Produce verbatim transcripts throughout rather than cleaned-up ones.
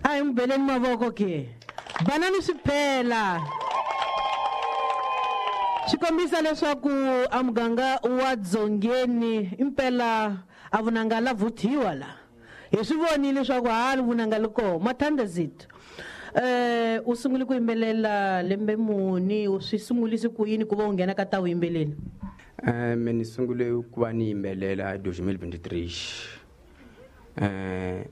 A hi n'wi beleni mavoko ke. Banani swi phela. Swi kombisa leswaku a muganga wa Dzongeni impela a vunanga la vuthiwa la. Hi swi vonile leswaku ha vunanga li koho Mathandazito. Eh u sungule ku yimbelela lembe muni, u swi sungulise ku yini ku va u nghena ka ta vuyimbeleri? Eh me ni sungule ku va ni yimbelela hi twenty twenty-three. Eh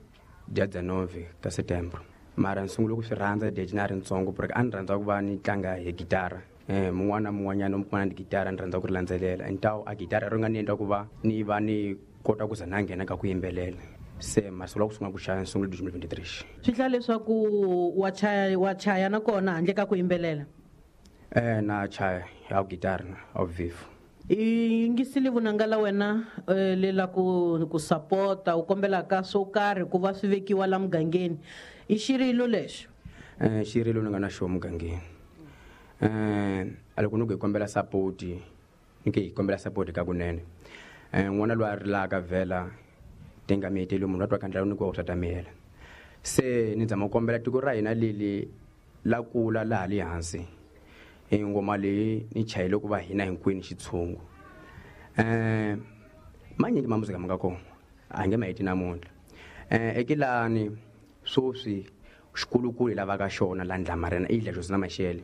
dia dezenove ka setembro. Mara ni sungule ku swi rhandza date na ri ntsongo porque a ni rhandza ku va ni tlanga hi gitara. Eh mun'wana na mun'wanyana u kuma ni gitara ni rhandza ku ri landzelela. Então a gitara ri nga ni endla ku va ni va ni kota ku za na nghena ka ku yimbelela. Se masolo ku sungula ku chaya sungule twenty twenty-three. Swi hlaya leswaku wa chaya wa chaya na kona handle ka ku yimbelela? Eh na chaya ya gitara ao vivo. I yingisile vunanga la wena le la ku ku support-a u kombelaka swo karhi ku va swi vekiwa la mugangeni. I xirilo lexo? Eh xirilo ni nga na xo mugangeni. Eh a loko ni ku hi kombela support, ni ke hi kombela support ka kunene. Eh n'wana loyi a rilaka vhela tinga miheteli munhu wa twa ka ndlela ni ku swa ta mihela. Se ni zama ku kombela tiko ra hina leli la kula laha le hansi. E ngoma leyi ni chayile ku va hina hinkwenu xitshungu. Eh manyingi ma muzika ma nga kona a nge ma heti namuntlha. Eh ekilani swoswi xikulukulu hi lavaka xona la Ndlamarena i Idla Josina Mashele.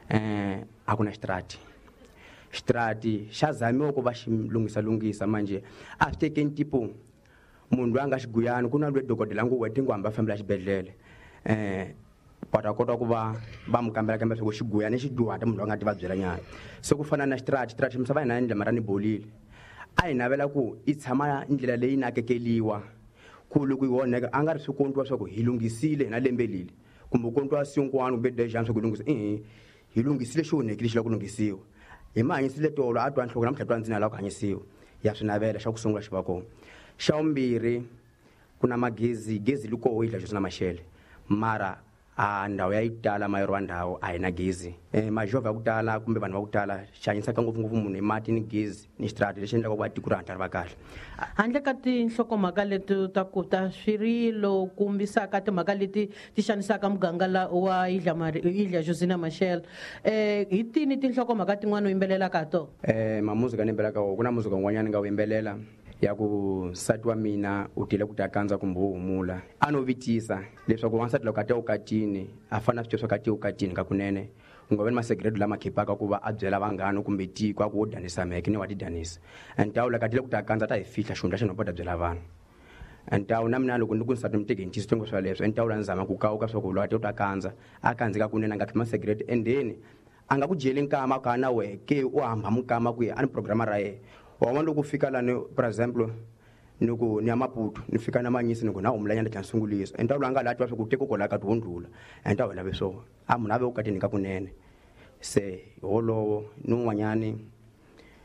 Eh a ku na xitrati. Xitrati xa zamiwa ku va xi lunghisa lunghisa manje a swi tekeni tipo munhu loyi a nga xiguyani ku na loyi dokodela ngo wena tingo hamba fambela xibedhlele. Eh va ta kota ku va va mu kambela kambe swa ku xiguyani xi dyuhata munhu loyi a nga ti vabyela nyana. Se ku fana na xitrati, xitrati misava hina ya Ndlamarena ni bolile. A hi navela ku i tshama ndlela leyi nakekeliwa ku loko yi onheka a nga ri swi kontiwa swa ku hi lunghisile hina lembe leli kumbe kontiwa sinkwana kumbe dejani swa ku lunghisa. Ehe hi lunghisile xi onhekile xi lava ku lunghisiwa. Hi mahanyisile tolo a twa nhloko namuntlha twa ndzina lava ku hanyisiwa. Ya swi navela xa ku sungula xi va kona. Xa vumbirhi ku na magezi, gezi li koho Idla Josina Mashele. Mara a ndhawu ya yi tala mayero wa ndhawu a hi na gezi. Eh majovha ya ku tala kumbe vanhu va ku tala xi hanyisaka ngopfungopfu munhu hi mati ni gezi ni xitrati lexi endlaka ku va tiko ri hatla ri va kahle. Handle ka tinhlokomhaka leti ta ku ta swirilo kombisaka timhaka leti ti xanisaka muganga la wa Idla Mari, Idla Josina Mashele. Eh hi tini tinhlokomhaka tin'wana u yimbelelaka ha tona? Eh mamuzika ni yimbelelaka wona ku na muzika wun'wanyana ni nga wu yimbelela ya ku nsati wa mina u tile ku ta kandza kumbe wo humula. A no vitisa leswaku wansati loko a ta vukatini a fanele a swi tiva swa ku a te vukatini ka kunene. Ku nga vi ni masegrete lama khipaka ku va a byela vanghana kumbe tiko a ku wo danisa mheke ni wa ti danisa. Ntawu loko a tile ku ta kandza ta hi fihla xihundla xa nhova ta byela vanhu. Ntawu na mina loko ni ku nsati mi teke hi ntiyiso swa leswo, ntawu la ni zama ku kawuka swa ku loko a tile ku ta kandza a kandzeka kunene a nga khipi masegrete endeni a nga ku dyeli nkama ka na wehe ke u hamba mukama ku ya a ni programa ra yena. Wa vona loko u fika lani for example ni ku ni ya Maputo ni fika na Manyisi ni ku na humula nyana tlhela ni sungulisa. Ntawu loyi a nga la twa swa ku teko kwala ka ti wo ndlula. Ntawu hi lave swona. A munhu a ve vukatini ka kunene. Se wolowo ni un'wanyani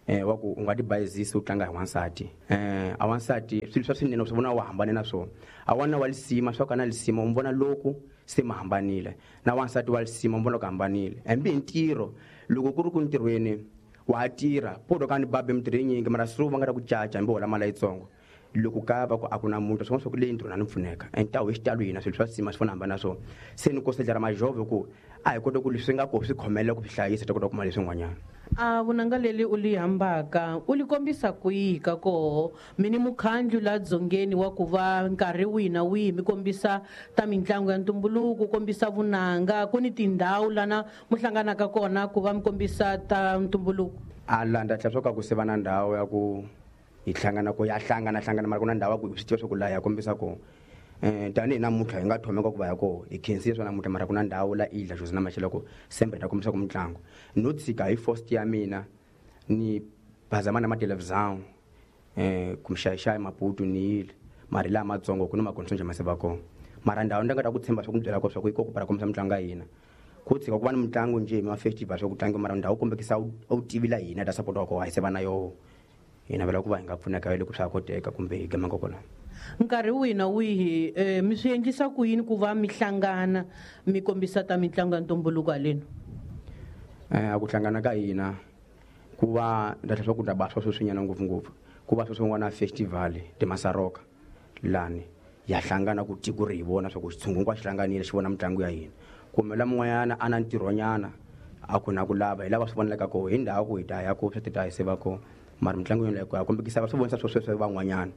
eh wa ku u nga ti bayizisi u tlanga hi wansati. Eh a wansati swilo swa swinene u swi vona wa hambane na swona. A wana wa lisima swa ka na lisima u vona loko se ma hambanile. Na wansati wa lisima u vona ku hambanile. Hambi hi ntirho loko ku ri ku ntirhweni wa tirha poto ka ni babe mintirho yinyingi mara swi va nga ta ku caca hambi hola mali yitsongo. Loko ka va ku a ku na muntu swi vona swa ku leyi ntirho na ni pfuneka. Ntawu hi xitalo hina swilo swa sima swi fana hambana na swona. Se ni kosedla ra majove ku a hi kota ku leswi nga koho swi khomelela ku swi hlayisa ta kota ku kuma leswin'wanyana. A vunanga leli u li hambaka u li kombisa kwihi ka koho? Mi ni mukhandlu la Dzongeni wa ku va nkarhi wihi na wihi mi kombisa ta mitlangu ya ntumbuluko, kombisa vunanga, ku ni tindhawu lana mu hlanganaka kona ku va mi kombisa ta ntumbuluko? A landza tlhela swa ka ku se va na ndhawu ya ku hi hlangana ko ya hlangana hlangana mara ku na ndhawu ya ku swi tiva swa ku laha ya kombisa kona. Eh tanihi namuntlha hi nga thomeka ku va ya koho hi khensile swa namuntlha mara ku na ndhawu la Idla Josina Mashele ku sembe ta kombisa ku mitlangu. No tshika hi first ya mina ni bazama na matelevisão eh kumxaxaya Maputo ni yile mara laha matsongo ku ni makonso njhe ma se va kona. Mara ndhawu ni nga ta ku tshemba swa ku byela ko swa ku yi koko para kombisa mitlangu ya hina. Ku tshika ku va ni mitlangu njhe hi ma festival swa ku tlanga mara ndhawu kombekisa u tivi la hina ta support wa koho a hi se va na yoho. Hi navela ku va hi nga pfuneka hi loko swa koteka kumbe hi gemanga kona. Nkarhi wihi na wihi eh mi swi endlisa ku yini ku va mi hlangana mi kombisa ta mitlangu ya ntumbuluko haleno? Eh a ku hlangana ka hina ku va ndza swa ku ta ba swa sweswinyana ngopfungopfu ku va sweswi n'wana festival timasaroka lani Ya hlangana ku tiko ri hi vona swa ku xitshungu hinkwaxo xi hlanganile xi vona mitlangu ya hina. Kumbe la mun'wanyana a na ntirhonyana a ku na ku lava hi lava swi vonelaka koho hi ndhawu ku hi ta ya ko swi ti ta hi seva kona mara mitlangu yoleyo ku ya kombekisa va swi vonisa swo sweswo van'wanyana.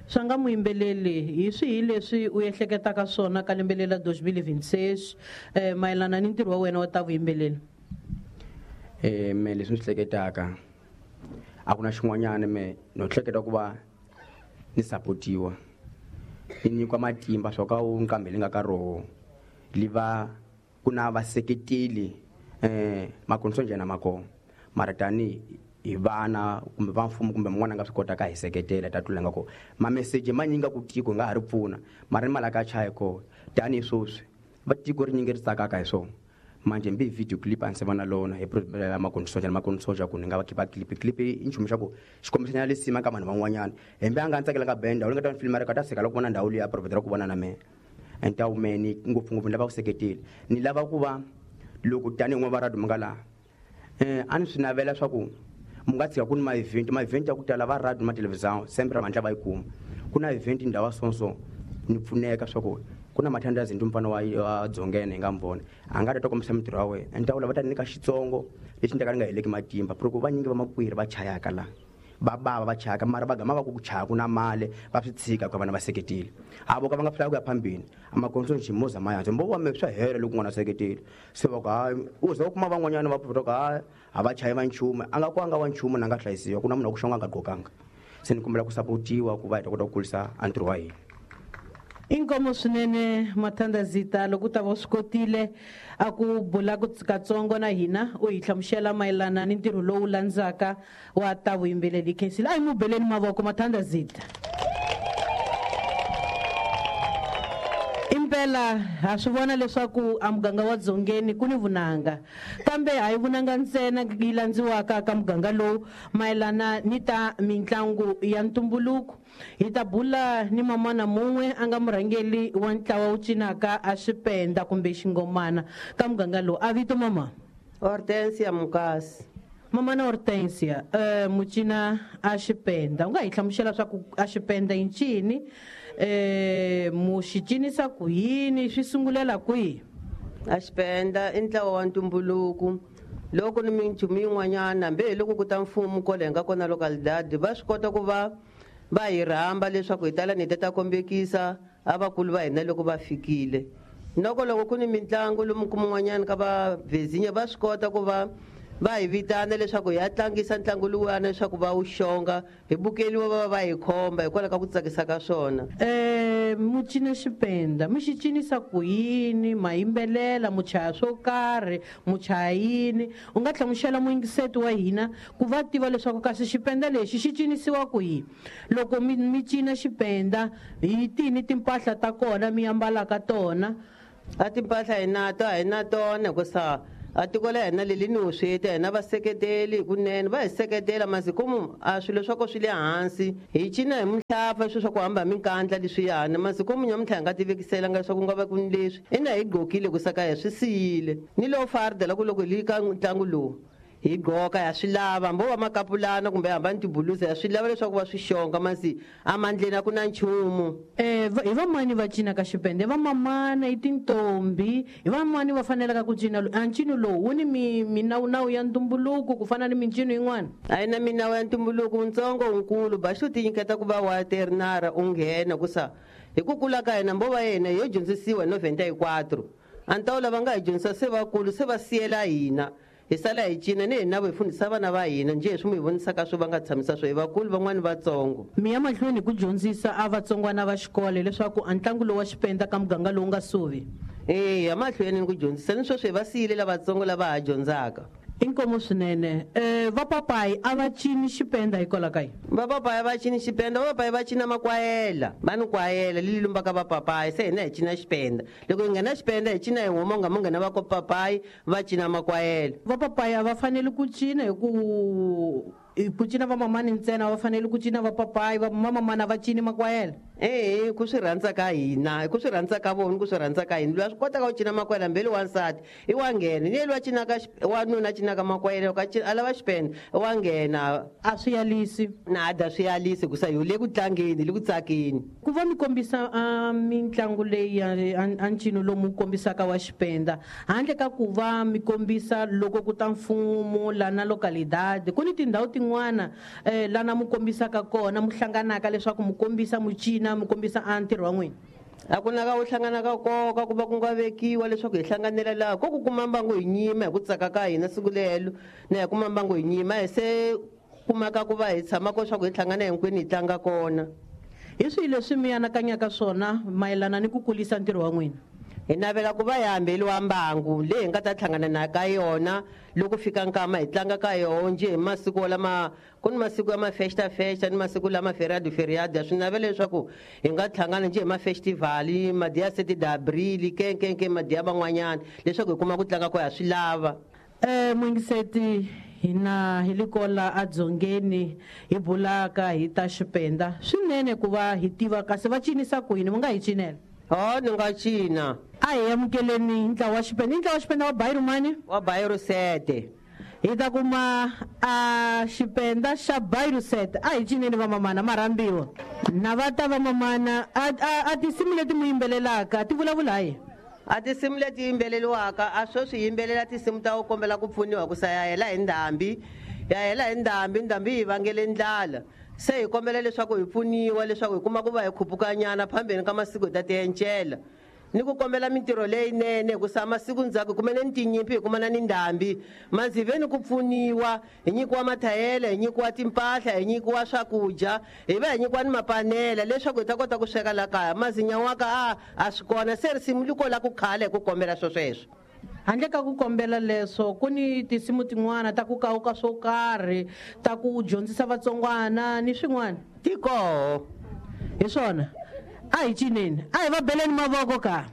Swa nga muyimbeleli hi swihi leswi u ehleketaka swona ka lembe leri la dos mil vinte e seis eh, mayelana ni ntirho wa wena wa ta vuyimbeleri? Eh, me leswi ni swi hleketaka a ku na xin'wanyana me no hleketa ku va ni sapotiwa ni nyikiwa matimba swa ka wu nqambi li nga ka roho li va ku na vaseketeli eh makonso njhani ma kona mara tani hi vana kumbe va mfumo kumbe mun'wana a nga swi kotaka hi seketela ta tlula nga kona mameseji ma nyinga ku tiko nga ha ri pfuna mara ni mali ka chaya kona tanihi sweswi va tiko ri nyingi ri tsakaka hi swona manje mbi video clip a ni se va na lona hi makonso njhani makonso ku ni nga va khipa clip clip i nchumu xa ku xi kombisanyana lisima ka vanhu van'wanyana hembe a nga ni tsakelanga band ndhawu leyi nga ta ni filima ri ka ta sika loko vona ndhawu liya provide ku vona na mehe and ta mehe ngopfungopfu ni lava ku seketela ni lava ku va loko tanihi n'wana va radio mi nga laha eh a ni swi navela swa ku mi nga tshika ku ni ma-event ma-event ya ku tala va radio ma television sempre va hatla va yi kuma ku na event ndhawu ya so so ni pfuneka swa ku ku na mathandazi ndi mfana wa wa Dzongeni hi nga mi vona a nga ta ta kombisa mintirho ya wena and ta vula va ta nyika xitsongo lexi ni ta ka ni nga heleki matimba loko vanyingi va makwiri va chayaka la va bava va chayaka mara va gama va ku ku chaya ku na mali va swi tshika ku vana va seketeli a vo ka va nga swi ku ya phambili a makonso nxi mo zama ya mbo wa me swa hela loko n'wana seketeli se va ku hayi u za u kuma van'wanyana va pfuta ku hayi a va chayi va nchumu a nga ku a nga wa nchumu na nga hlayisiwa ku na munhu wa ku xonga a nga gqokanga se ni kombela ku sapotiwa ku va hi ta kota ku kulisa a ntirho wa hina. Inkomo swinene Mathandazita loko u ta va u swi kotile a ku bula ku katsongo na hina u hi hlamusela mayelana ni ntirho lowu landzaka wa ta vuyimbeleri khensile a hi mu beleni mavoko Mathandazita. Impela ha swi vona leswaku a muganga wa Dzongeni ku ni vunanga kambe a hi vunanga ntsena yi landziwaka ka muganga lowu mayelana ni ta mitlangu ya ntumbuluko. Hi ta bula ni mamana mun'we a nga murhangeri wa ntlawa wu cinaka a xipenda kumbe xingomana ka muganga lowu. A vito mama? Hortensia Mukasi. Mamana Hortensia, eh mucina a xipenda u nga hi hlamusela swa ku a xipenda i ncini eh mu xi cinisa ku yini swi sungulela kwihi? A xipenda i ntlawa wa ntumbuluko loko ni minchumu yin'wanyana hambi hi loko ku ta mfumo kwale hi nga kona localidade va swi kota ku va va hi rhamba leswaku hi tala ni ta ta kombekisa a vakulu va hina loko va fikile. Noko loko ku ni mitlangu lomu kun'wanyana ka va Vezinya va swi kota ku va va hi vitana leswaku hi ya tlangisa ntlangu luwani leswaku va wu xonga hi bukeliwa va va va hi khomba hikwalaho ka ku tsakisa ka swona. Eh mu cina xipenda mi xi cinisa ku yini ma yimbelela mu chaya swo karhi mu chaya yini u nga hlamusela muyingiseti wa hina ku va tiva leswaku kasi xipenda lexi xi cinisiwa ku yini loko mi mi cina xipenda hi tini timpahla ta kona mi ambalaka tona? A timpahla hi na to a hi na tona hikusa a tiko la hina leli ni vusweti hina vaseketeli hikunene va hi seketela masiku a swilo swa ko swi le hansi hi cina hi muhlafa swilo swa ku hamba hi minkandla leswiyani masiku nyamuntlha hi nga tivekiselanga leswaku ku nga va ku ni leswi ina hi gqokile ku saka hi swi siyile ni lowu fardela ku loko hi li ka ntlangu lowu hi gqoka ya swi lava hambi wo va makapulana kumbe hamba ni tibulusa ya swi lava leswaku va swi xonga masi emandleni a ku na nchumu. Eh hi vamani va cinaka xipende va mamana i tintombi hi vamani va fanelaka ku cina a ncino lowu wu ni mi minawunawu ya ntumbuluko ku fana ni mincino yin'wana? A yi na minawu ya ntumbuluko wuntsongo wunkulu ba xo tinyiketa ku va wa ternara u nghena ku sa hi ku kula ka hina mbo va yena yo dyondzisiwa hi noventa y quatro a ni ta lava nga hi dyondzisa se vakulu se va siyela hina hi sala hi cina ni hina vo hi fundisa vana va hina njhe hi swi mu hi vonisaka swo va nga tshamisa swo hi vakulu van'wani vatsongo. Mi ya mahlweni ku dyondzisa a vatsongwana va xikolo leswaku a ntlangu lowu wa xipenda ka muganga lowu nga suvi? Eya mahlweni ni ku dyondzisa ni sweswi hi va siyile lavatsongo lava ha dyondzaka. Inkomo swinene. Eh vapapayi a va cini xipenda hikwalaho ka yini? Vapapayi va cini xipenda vapapayi va cina makwayela va ni kwayela leli lumbaka vapapayi se hina hi cina xipenda loko hi nghena xipenda hi cina hi huma u nga mo nghena va ko papayi va cina makwayela. Vapapayi a va fanele ku cina hi ku ku cina vamamani ntsena va fanele ku cina vapapayi vamamana va cini makwayela? Ehe, ku swi rhandza ka hina, ku swi rhandza ka vona, ku swi rhandza ka hina. Loyi a swi kotaka ku cina makwela mbeli wansati i wa nghena, ni loyi a cinaka wanuna a cinaka makwela loko a lava xipenda wa nghena. A swi yalisi nada, swi yalisi hikusa hi le ku tlangeni, le ku tsakeni. Ku va mi kombisa mitlangu leyi a ncino lomu kombisaka wa xipenda, handle ka ku va mi kombisa loko ku ta mfumo lana localidad, ku ni tindhawu tin'wana lana mu kombisaka kona, mu hlanganaka leswaku mu kombisa mu cina, mu kombisa a ntirho wa n'wina? A ku na ka u hlangana ka nkoka ku va ku nga vekiwa leswaku hi hlanganela laha ko ku kuma mbangu hi nyima hi ku tsaka ka hina siku lelo, na hi kuma mbangu hi nyima hi se kumaka ku va hi tshama ko swa ku hi hlangana hinkwenu hi tlanga kona. Hi swihi leswi mi anakanyaka swona mayelana ni ku kulisa ntirho wa n'wina? Hi navela ku va hi hambeliwa mbangu leyi hi nga ta hlangana na ka yona loko fika nkama hi tlanga ka yona njhe hi masiku lama ku ni masiku ya mafesta festa ni masiku lama feriado feriado. Swi navela leswaku hi nga hlangana njhe hi mafestivali madiya sete d'abril kenkenke madiya van'wanyana leswaku hi kuma ku tlanga ko ha swi lava. Eh muyingiseti, hina hi likola adzongeni hi bulaka hi ta xipenda swinene ku va hi tiva kasi va cinisa ku yini, mi nga hi cinela? Ho, ni nga cina. A hi amukeleni ntlawa wa xipenda. I ntlawa wa xipenda wa Bayiru mani? Wa Bayiru sete. Hi ta kuma a xipenda xa Bayiru sete. A hi cineni vamamana, marhambiwa na va ta vamamana. A a tinsimu leti mu yimbelelaka ti vulavula hi? A tinsimu leti yimbeleliwaka a swo swi yimbelela tinsimu ta ku kombela ku pfuniwa ku sa ya hela hi ndhambi, ya hela hi ndhambi, ndhambi yi vangele ndlala. Se hi kombela leswaku hi pfuniwa leswaku hi kuma ku va hi khupukanyana phambeni ka masiku hi ta tiencela, ni ku kombela mintirho leyinene hikusa masiku ndzhaku hi kumene ni tinyimpi, hi kumana ni ndhambi. Manzi ve ni ku pfuniwa, hi nyikiwa mathayele, hi nyikiwa timpahla, hi nyikiwa swakudya, hi va hi nyikiwa ni mapanela leswaku hi ta kota ku sweka la kaya. Mazinyawaka a a swi kona, se risimu li kola ku khale hi ku kombela swo sweswo. Handle ka ku kombela leswo, ku ni tinsimu tin'wana ta ku kawuka swo karhi, ta ku dyondzisa vatsongwana ni swin'wana? Ti koho. Hi swona. A hi cineni, a hi va beleni mavoko ka.